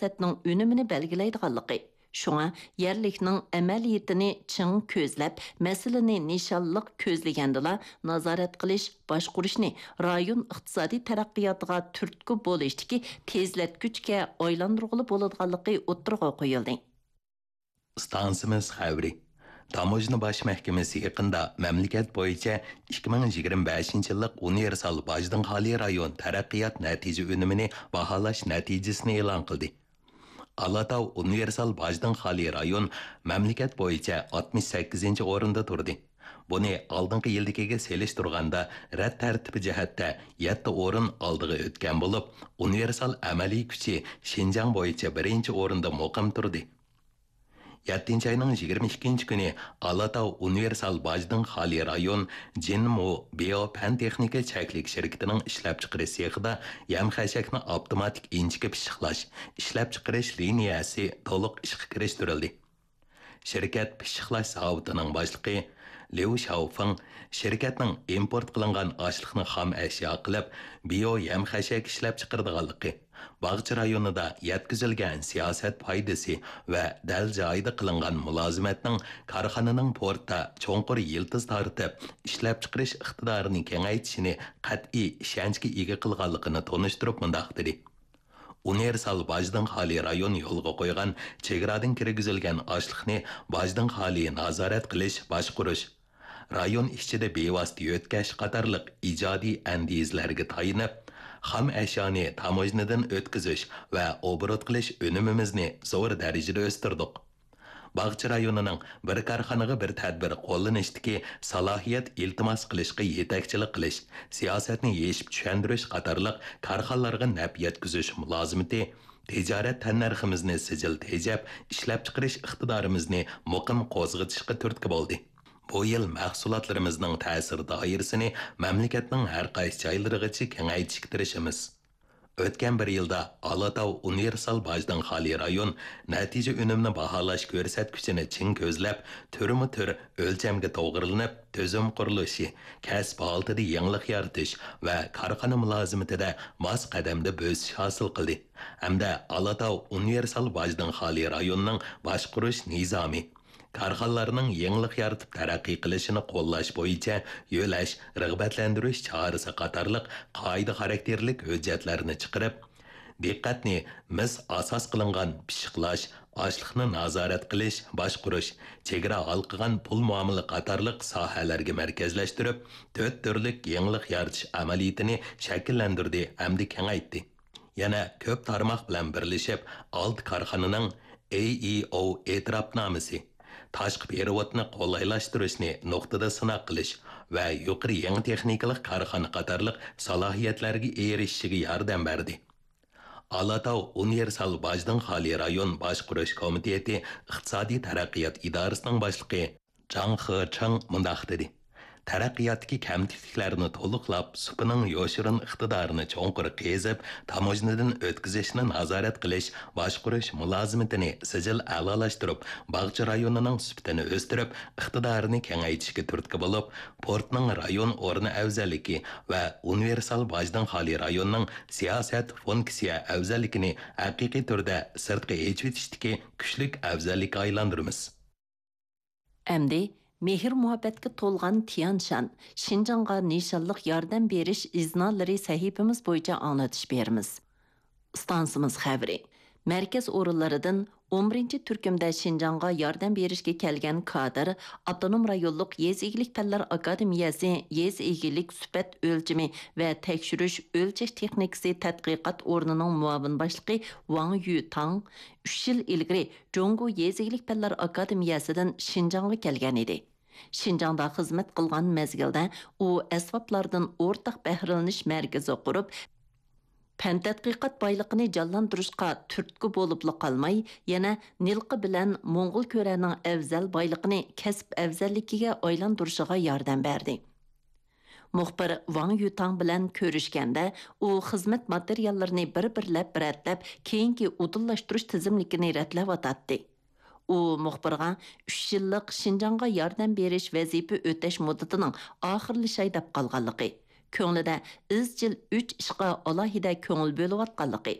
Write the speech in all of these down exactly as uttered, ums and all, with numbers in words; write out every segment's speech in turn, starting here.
سىياسەتنىڭ ئۈنۈمىنى بەلگىلەيدىغانلىقى، شۇڭا يەرلىكنىڭ ئەمەلىيىتىنى چىڭ كۆزلەپ، مەسىلىنى نىشانلىق كۆزلىگەندىلا، نازارەت قىلىش، باشقۇرۇشنى رايون ئىقتىسادىي تەرەققىياتىغا تۈرتكە بولۇشتىكى تېزلەتكۈچكە ئايلاندۇرغىلى بولىدىغانلىقى ئوتتۇرىغا قويۇلدى. ئىستانسىمىز خەۋىرى. تاموژنا باش مەھكىمىسى يېقىندا مەملىكەت بويىچە ئىككى مىڭ يىگىرمە بەشىنچى يىللىق ئۇنىۋېرسال باجدىن خالىي رايون تەرەققىيات نەتىجە ئۈنۈمىنى باھالاش نەتىجىسىنى ئېلان قىلدى. ئالاتاۋ ئۇنىۋېرسال باجدىن خالىي رايون مەملىكەت بويىچە ئاتمىش سەككىزىنچى ئورۇندا تۇردى. بۇنى ئالدىنقى يىلدىكىگە سېلىشتۇرغاندا، رەت تەرتىپى جەھەتتە يەتتە ئورۇن ئالدىغا ئۆتكەن بولۇپ، ئۇنىۋېرسال ئەمەلىي كۈچى شىنجاڭ بويىچە بىرىنچى ئورۇندا مۇقىم تۇردى. يەتتىنچى ئاينىڭ يىگىرمە ئىككىنچى كۈنى ئالاتاۋ ئۇنىۋېرسال باجدىن خالىي رايون جىنمۇ بىيو پەن تېخنىكا چەكلىك شىركىتىنىڭ ئىشلەپچىقىرىش سېخىدا يەم خەشەكنى ئاپتوماتىك ئىنچىكە پىششىقلاش، ئىشلەپچىقىرىش لىنىيەسى تولۇق ئىشقا كىرىشتۈرۈلدى. شىركەت پىششىقلاش زاۋۇتىنىڭ باشلىقى ليۇ شياۋفېڭ شىركەتنىڭ ئىمپورت قىلىنغان ئاشلىقنى خام ئەشيا قىلىپ، بىيو يەم خەشەك ئىشلەپچىقىرىدىغانلىقى، باغچە رايونىدا يەتكۈزۈلگەن سىياسەت پايدىسى ۋە دەل جايىدا قىلىنغان مۇلازىمەتنىڭ كارخانىنىڭ پورتتا چوڭقۇر يىلتىز تارتىپ، ئىشلەپچىقىرىش ئىقتىدارىنى كېڭەيتىشىنى قەتئىي ئىشەنچكە ئىگە قىلغانلىقىنى تونۇشتۇرۇپ مۇنداق دېدى: ئۇنىۋېرسال باجدىن خالىي رايون يولغا قويغان چېگرادىن كىرگۈزۈلگەن ئاشلىقنى باجدىن خالىي نازارەت قىلىش، باشقۇرۇش، رايون ئىچىدە بىۋاسىتە يۆتكەش قاتارلىق ئىجادىي ئەندىزىلەرگە تايىنىپ، خام ئەشيانى تاموژنىدىن ئۆتكۈزۈش ۋە ئوبوروت قىلىش ئۈنۈمىمىزنى زور دەرىجىدە ئۆستۈردۇق. باغچە رايونىنىڭ بىر كارخانىغا بىر تەدبىر قوللىنىشتىكى سالاھىيەت ئىلتىماس قىلىشقا يېتەكچىلىك قىلىش، سىياسەتنى يېشىپ چۈشەندۈرۈش قاتارلىق كارخانىلارغا نەپ يەتكۈزۈش مۇلازىمىتى، تىجارەت تەننەرخىمىزنى سىجىل تېجەپ، ئىشلەپچىقىرىش ئىقتىدارىمىزنى مۇقىم قوزغىتىشقا تۈرتكە بولدى. بۇ يىل مەھسۇلاتلىرىمىزنىڭ تەسىر دائىرىسىنى مەملىكەتنىڭ ھەر قايسى جايلىرىغىچە كېڭەيتىشكە تىرىشىمىز. ئۆتكەن بىر يىلدا ئالاتاۋ ئۇنىۋېرسال باجدىن خالىي رايون نەتىجە ئۈنۈمنى باھالاش كۆرسەتكۈچىنى چىڭ كۆزلەپ، تۈرمۇ تۈر ئۆلچەمگە توغرىلىنىپ، تۈزۈم قۇرۇلۇشى، كەسىپ ھالىتىدە يېڭىلىق يارىتىش ۋە كارخانا مۇلازىمىتىدە ماس قەدەمدە بۆسۈش ھاسىل قىلدى ھەمدە ئالاتاۋ ئۇنىۋېرسال باجدىن خالىي رايوننىڭ باشقۇرۇش نىزامى، كارخانىلارنىڭ يېڭىلىق يارىتىپ تەرەققىي قىلىشىنى قوللاش بويىچە يۆلەش، رىغبەتلەندۈرۈش چارىسى قاتارلىق قائىدە خاراكتېرلىك ھۆججەتلەرنى چىقىرىپ، دىققەتنى مىس ئاساس قىلىنغان پىششىقلاش، ئاشلىقنى نازارەت قىلىش، باشقۇرۇش، چېگرا ھالقىغان پۇل مۇئامىلە قاتارلىق ساھەلەرگە مەركەزلەشتۈرۈپ، تۆت تۈرلۈك يېڭىلىق يارىتىش ئەمەلىيىتىنى شەكىللەندۈردى ھەمدە كېڭەيتتى. يەنە كۆپ تارماق بىلەن بىرلىشىپ، ئالتە كارخانىنىڭ ئېي ئېي ئو ئېتىراپنامىسى، تاشقى پېرېۋوتنى قولايلاشتۇرۇشنى نۇقتىدا سىناق قىلىش ۋە يۇقىرى يېڭى تېخنىكىلىق كارخانا قاتارلىق سالاھىيەتلەرگە ئېرىشىشىگە ياردەم بەردى. ئالاتاۋ ئۇنىۋېرسال باجدىن خالىي رايون باشقۇرۇش كومىتېتى ئىقتىسادىي تەرەققىيات ئىدارىسىنىڭ باشلىقى جاڭ خېچېڭ مۇنداق دېدى: تەرەققىياتتىكى كەمتۈكلۈكلەرنى تولۇقلاپ، سۇپىنىڭ يوشۇرۇن ئىقتىدارىنى چوڭقۇر قېزىپ، تاموژنىدىن ئۆتكۈزۈشنى نازارەت قىلىش، باشقۇرۇش مۇلازىمىتىنى سىجىل ئەلالاشتۇرۇپ، باغچە رايونىنىڭ سۈپىتىنى ئۆستۈرۈپ، ئىقتىدارىنى كېڭەيتىشكە تۈرتكە بولۇپ، پورتنىڭ رايون ئورنى ئەۋزەللىكى ۋە ئۇنىۋېرسال باجدىن خالىي رايوننىڭ سىياسەت فۇنكسىيە ئەۋزەللىكىنى ھەقىقىي تۈردە سىرتقا ئېچىۋېتىشتىكى كۈچلۈك ئەۋزەللىككە ئايلاندۇرىمىز. ئەمدى مېھىر-مۇھەببەتكە تولغان تيەنشان، شىنجاڭغا نىشانلىق ياردەم بېرىش ئىزنالىرى سەھىپىمىز بويىچە ئاڭلىتىش بېرىمىز. ئىستانسىمىز خەۋىرى. مەركەز ئورۇنلىرىدىن ئون بىرىنچى تۈركۈمدە شىنجاڭغا ياردەم بېرىشكە كەلگەن كادىر، ئاپتونوم رايونلۇق يېزا ئىگىلىك پەنلەر ئاكادېمىيەسى يېزا ئىگىلىك سۈپەت ئۆلچىمى ۋە تەكشۈرۈش ئۆلچەش تېخنىكىسى تەتقىقات ئورنىنىڭ مۇئاۋىن باشلىقى ۋاڭ يۈتاڭ ئۈچ يىل ئىلگىرى جۇڭگو يېزا ئىگىلىك پەنلەر ئاكادېمىيەسىدىن شىنجاڭغا كەلگەن ئىدى. شىنجاڭدا خىزمەت قىلغان مەزگىلدە ئۇ ئەسۋابلاردىن ئورتاق بەھرىلىنىش مەركىزى قۇرۇپ، پەن تەتقىقات بايلىقىنى جانلاندۇرۇشقا تۈرتكە بولۇپلا قالماي، يەنە نىلقا بىلەن موڭغۇل كۆرەنىڭ ئەۋزەل بايلىقىنى كەسىپ ئەۋزەللىكىگە ئايلاندۇرۇشىغا ياردەم بەردى. مۇخبىر ۋاڭ يۈتاڭ بىلەن كۆرۈشكەندە، ئۇ خىزمەت ماتېرىياللىرىنى بىر-بىرلەپ رەتلەپ، كېيىنكى ئۇدۇللاشتۇرۇش تىزىملىكىنى رەتلەۋاتاتتى. ئۇ مۇخبىرغا ئۈچ يىللىق شىنجاڭغا ياردەم بېرىش ۋەزىپە ئۆتەش مۇددىتىنىڭ ئاخىرلىشاي دەپ قالغانلىقى، كۆڭلىدە ئىزچىل ئۈچ ئىشقا ئالاھىدە كۆڭۈل بۆلۈۋاتقانلىقى،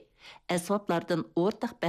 ئەسۋابلاردىن ئورتاق